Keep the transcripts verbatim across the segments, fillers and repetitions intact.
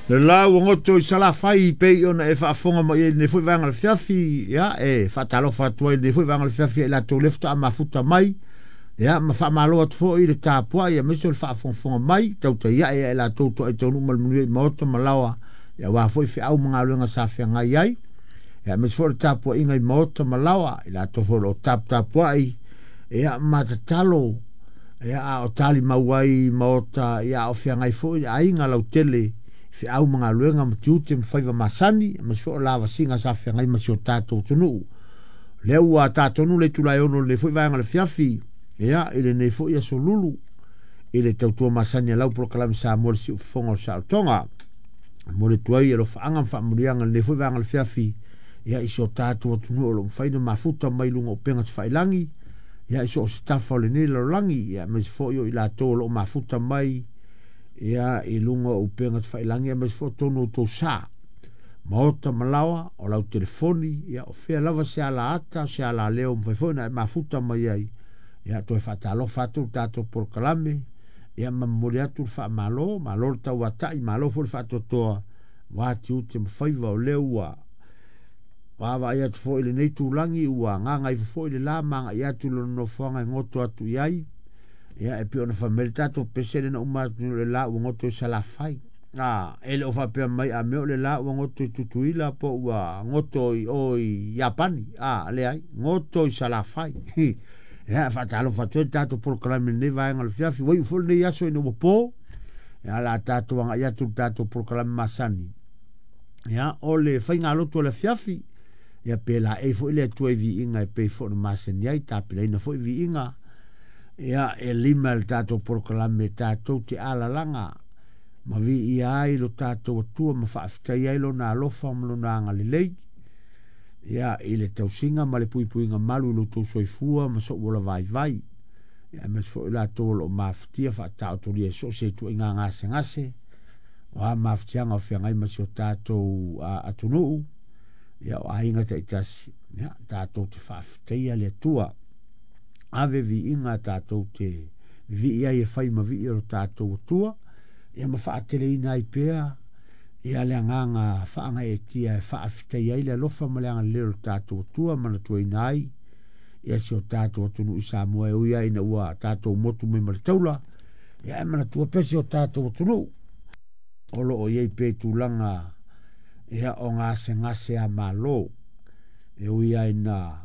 Le la ua goto i Salafai pei ona e faafofoga mai ai lenei foi vaega o le afiafi, ia e faatalofa atu ai lenei foi vaega o le afiafi i latou le faatoa mafuta mai, ia ma faamalo atu foi le tapuai aemaise o le faafogafoga mai tautai ae ia i latou toai taunuu ma le manuia i maota ma laoa, ia aua foi feau ma galuega sa feagai ai, ia aemaise foi le tapuaiga i maota ma laoa i latou foi o lo o taputapuai, ia ma tatalo, ia a o talimau ai i maota, ia a o feagai foi le aiga lautele feau ma galuega ma tiute ma faiva masani, aemaise foi o lavasiga sa feagai ma si o tatou atunuu. Lea ua tatonu le itula e ono lenei foi vaega o le afiafi, ia i lenei foi aso lulu i le tautua masani a lau polokalame Samoa le siufofoga o le saolotoga. Momoli atu ai alofaaga ma faamanuiaga i lenei foi vaega o le afiafi, ia i si o tatou atunuu o lo o mafai ona mafuta mai luga o upega tafailagi, ia i so o se tafa o lenei lalolagi, ia aemaise foi o i latou o lo o mafuta mai ia i luga o upega tafailagi, aemaise foi o totonu o tou sa maota ma laoa o lau telefoni, ia o fea lava se alaata se alaleo mafai foi ona e mafuta mai ai, ia toe faatalofa atu le tatou polokalame, ia ma momoli atu le faamalo, malo le tauatai, malo foi le faatoatoa aua tiute ma faiva o lea ua vaavaai atu foi i lenei tulagi ua gagaifo foi le la ma agai atu i lona nofoaga e goto atu i ai, ia e pei ona fai mai le tatou pese lea na uma atu nei o le la ua goto i Salafai. A e le o faapea mai a mea o le la ua goto i Tutuila po ua goto i o i Iapani, a leai, goto i Salafai. Ia faatalofa atu ai le tatou polokalame i lenei vaega o le afiafi, ua iu foi lenei aso ina ua po, ia o le a tatou agai atu i le tatou polokalame masani, ia o le faigalotu o le afiafi, ia pe laei foi le Atua i viiga e pei foi ona masani ai, tapenaina foi viiga, ia e lima le tatou polokalame tatou te alalaga ma viia ai lo tatou Atua ma faafetai ai lona alofa ma lona agalelei, ia i le tausiga ma le puipuiga malu i lo outou soifua ma sou ola vaivai, ia aemaise foi i latou o lo o mafatia faataotolia i so o se ituaiga gasegase, o a mafatiaga o feagai ma si o tatou atunuu, ia o aiga taitasi, ia tatou te faafetaia le Atua. Ave viiga tatou te vivii ai e fai ma vii o lo tatou Atua, ia ma faateleina ai pea ia le agaga faagaeetia e faafetai ai le alofa ma le agalelei o lo tatou Atua, manatuaina ai ia si o tatou atunuu i Samoa e ui ai ina ua tatou motu mai ma le taula, ia e manatua pea si o tatou atunuu o lo o i ai pea i tulaga ia o gasegase a malo, e ui ai ina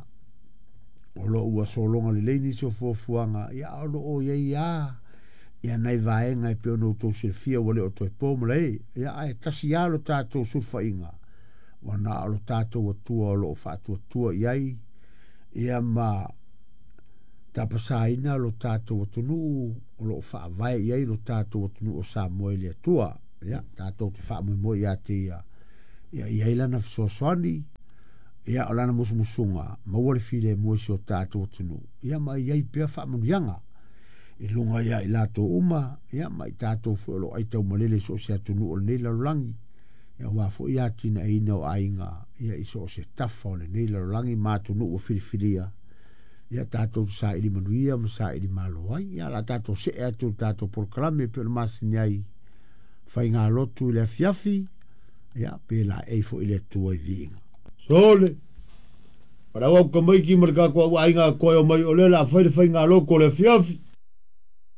o lo o ua sologa lelei nisi o fuafuaga, ia o lo o i ai lava ia nai vaega e pei ona outou silafia ua le o toe po ma lae, ia ae tasi lava lo tatou sulufaiga, ua na o lo tatou Atua o lo o faatuatua i ai, ia ma tapasaina lo tatou atunuu o lo o faavae i ai lo tatou atunuu o Samoa i le Atua. Ia tatou te faamoemoe ia te ia, ia i ai lana fesoasoani, ia o lana musumusuga maua le filemu i si o tatou atunuu, ia ma i ai pea faamanuiaga i luga ia i latou uma, ia ma i tatou foi o lo o aitaumalele i so o se atunuu o lenei lalolagi, ia aua foi atinaeina o aiga ia i so o se tafa o lenei lalolagi ma atunuu ua filifilia, ia tatou te saili manuia ma saili malo ai. Ia o le a tatou see atu i le tatou polokalame e pei ona masani ai faigalotu i le afiafi, ia pe laei foi le Atua i viiga. Sole, parau au kamaiki ma le tatou aiga koe o mai o le la fai le faigalotu o le afiafi.